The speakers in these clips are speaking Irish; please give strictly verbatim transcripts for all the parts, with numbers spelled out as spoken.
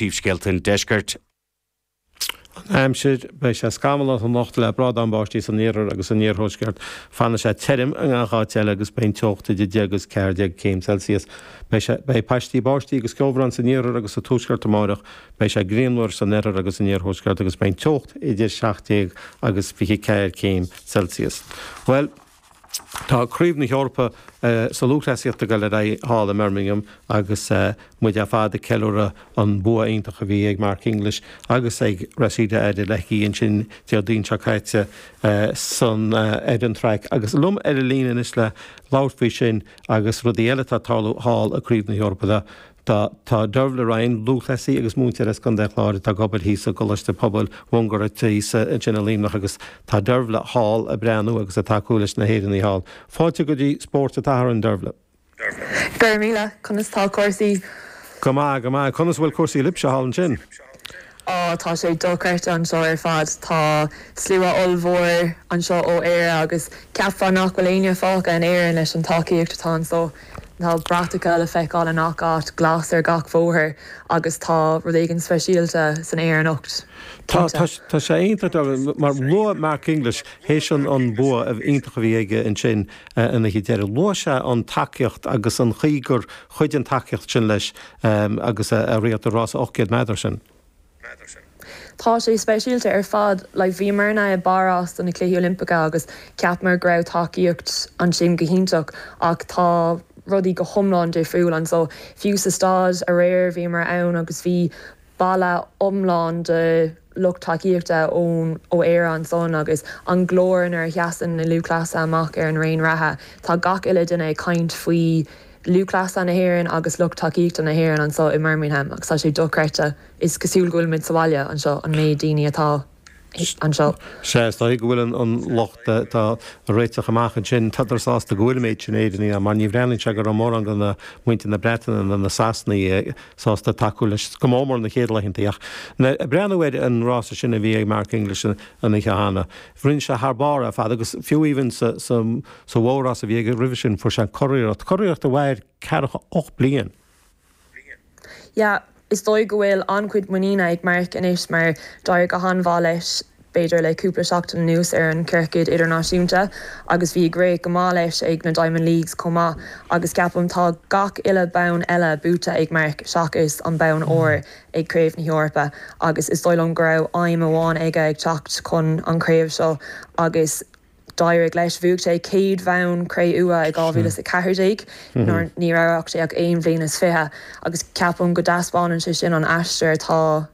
Príomhscéalta an Deiscirt. An aimsir, Beidh sé scamallach anocht le brádán báistí san iarthar agus san iarthuaisceart. Fanfaidh sé tirim i ngach áit eile agus beidh an teocht idir deich agus ceathair déag céim Celsius. Beidh sé Beidh paistí báistí agus ceobhrán san iarthar agus sa tuaisceart amárach. Beidh sé grianmhar san oirthear agus san iarthuaisceart agus beidh an teocht idir seacht déag agus fiche ceathair céim Celsius. Bhuel, Tá Craobh na hEorpa sa lúthchleasaíocht ag dul ar aghaidh thall i mBirmingham agus muid ar fad ag ceiliúradh an bua iontach a bhí ag Mark English agus ag Rhasidat Adeleke ansin Déardaoin seo caite san ar an traic. Agus liom ar an líne anois le labhairt faoi sin agus rudaí eile atá ag tarlú thall i gCraobh na hEorpa Tá tá Dervla Ryan, lúthchleasaí agus múinteoir as Contae an Chláir atá ag obair thíos i gColáiste Pobail Mhungairit thíos ansin i Luimneach agus tá Dervla thall ag breathnú agus ag tacú leis na hÉireannaigh thall. Fáilte go dtí Spórt an tSathairn, Dervla. Go raibh míle, conas tá cúrsaí? Go maith, go maith. Conas a bhfuil cúrsaí libhse thall ansin? Á, tá sé dochreidte anseo ar fad. Tá slua ollmhór anseo ó Éire agus cheapfá nach bhfuil éinne fágtha in Éirinn leis an tacaíocht atá anseo. Tá bratacha le feiceáil i ngach áit, glas ar gach bóthar agus tá rud éigin speisialta san aer anocht, Tá, tá, tá sé iontach mar luaigh Mark English théis an an bua iontach a bhí aige ansin an oíche deiridh. Luaigh sé an tacaíocht agus an chaoi gur chuidigh an tacaíocht sin leis agus é ag rith an rása ocht gcéad méadar sin. Tá sé speisialta ar fad. Like bhíomarna i bPáras do na Cluichí Oilimpeacha agus cheapamar go raibh tacaíocht ansin go hiontach ach tá rudaí go hiomlán difriúil anseo. Fiú sa staid aréir bhíomar ann agus bhí balla iomlán de lucht tacaíochta ón ó Éire ansan agus an glór nuair a sheasann na lúthchleasaithe amach ar an raon reatha. Tá gach uile duine ag caint faoi lúthchleasaithe na hÉireann agus lucht tacaíochta na hÉireann anseo i mBirmingham agus tá sé dochreidte. Is cosúil go bhfuilimid sa bhaile anseo an méid daoine atá anseo. Sea, is dóigh go bhfuil an lucht atá ag réiteach amach ansin, tádar sásta go bhfuil an méid sin Éireannaigh ann mar ní bhreathnaíonn sé go raibh mórán de na muintir na Breataine nó na Sasanaigh sásta tacú leis go mór mór na chéad laethanta. Ach ag breathnú ar an rása sin a bhí ag Mark English an oíche cheana, rinne sé thar barr ar fad agus fiú even sa sa mhór-rás a bhí aige roimhe sin fuair sé an curiarracht, curiarracht a mhair ceathracha ocht bliain. Yeah, is dóigh go bhfuil an-chuid muiníne ag Mark anois mar d'éirigh go han-mhaith leis b'fhéidir le cúpla seachtain anuas ar an ciorcad idirnáisiúnta agus bhí ag rith go maith leis ag na Diamond Leagues chomh maith agus ceapaim tá gach uile bonn eile buaite ag Mark seachas an bonn óir ag Craobh na hEorpa agus is dóigh liom go raibh aidhm amháin aige ag teacht chun an chraobh seo agus d'éirigh leis. Bhuaigh sé céad bhonn cré-umha i dhá mhíle is a ceathair déag nuair ní raibh ach sé ach aon bhliain is fiche agus ceapaim go dtaispeánann sé sin an aistear atá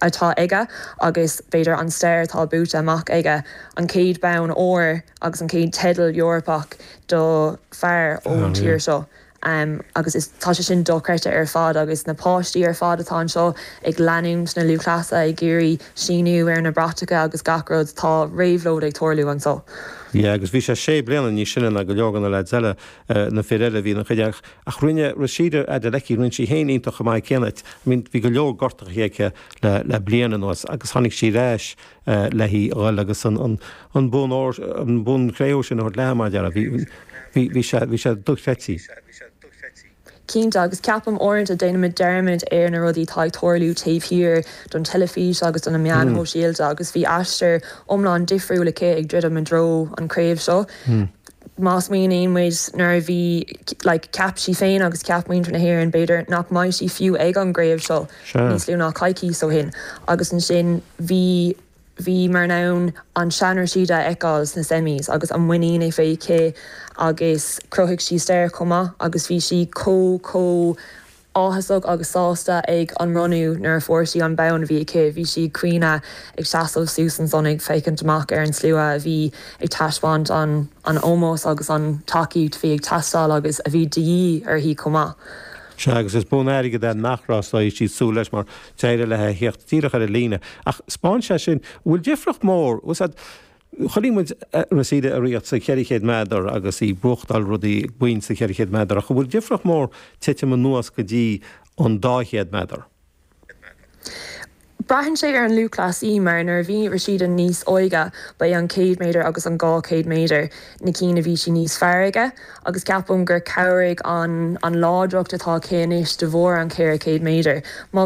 atá aige agus b'fhéidir an stair atá buaite amach aige, an chéad bonn óir agus an chéad teideal Eorpach do fear ón tír seo. Um, agus is tá sé sin dochreidte ar fad agus na páistí ar fad atá anseo ag leanúint na lúthchleasaithe ag iarraidh síniú ar na bratacha agus gach rud tá réabhlóid ag tarlú anseo. Yeah, agus bhí sé sé bliana níos sine ná go leor de na lads eile na fir eile bhí na chuid ach ach rinne Rhasidat Adeleke rinne sí féin iontach chomh maith céanna. I mean, bhí go leor gortaithe aici le, le bliain anuas agus tháinig sí ar ais uh, léi dhul agus an, an, an bonn óir an bonn cré-umha sin a thabhairt léi mar dhea. Bhí bhí bhí sé bhí sé dochreidte. Cinnte agus ceapaim uaireanta déanaimid dearmad ar na rudaí atá ag tarlú taobh thiar don teilifís agus do na meáin shóisialta agus bhí aistear iomlán difriúil aici ag druidim i dtreo an chraobh seo. Má smaoiníonn muid nuair a bhí like, ceap sí féin agus ceap muintir na hÉireann b'fhéidir nach mbeidh sí fiú ag an gcraobh seo níos lú ná coicís ó shin agus ansin bhí bhí mar ann an sean-Rhasidat a fheiceáil sna semis agus an muinín a bhí aici agus chruthaigh sí stair chomh maith agus bhí sí chomh chomh áthasach agus sásta ag an mbronnadh nuair a fuair sí an bonn a bhí aici, bhí sí caoineadh ag seasamh suas ansan ag féachaint amach ar an slua a bhí ag taispeáint an an ómós agus an tacaíocht bhí ag teastáil agus a bhí de dhíth uirthi chomh maith. Sea agus is bonn airgid é nach raibh siad súil leis mar d'éirigh léi theacht díreach ar an líne. Ach 'spáin sé sin bhfuil difríocht mór chonaic muid Rhasidat ag rith sa cheithre chéad méadar agus í ag buachtáil rudaí boinn sa cheithre chéad méadar ach bhfuil difríocht mór titim anuas go dtí an dá chéad méadar. Braitheann sé ar an lúthchleasaí mar nuair a bhí Rhasidat níos óige ba é an céad méadar agus an dhá chéad méadar na cinn a bhí sí níos fearr aige agus ceapaim gur chabhraigh an an láidreacht atá aici anois de bharr an ceithre chéad méadar. Má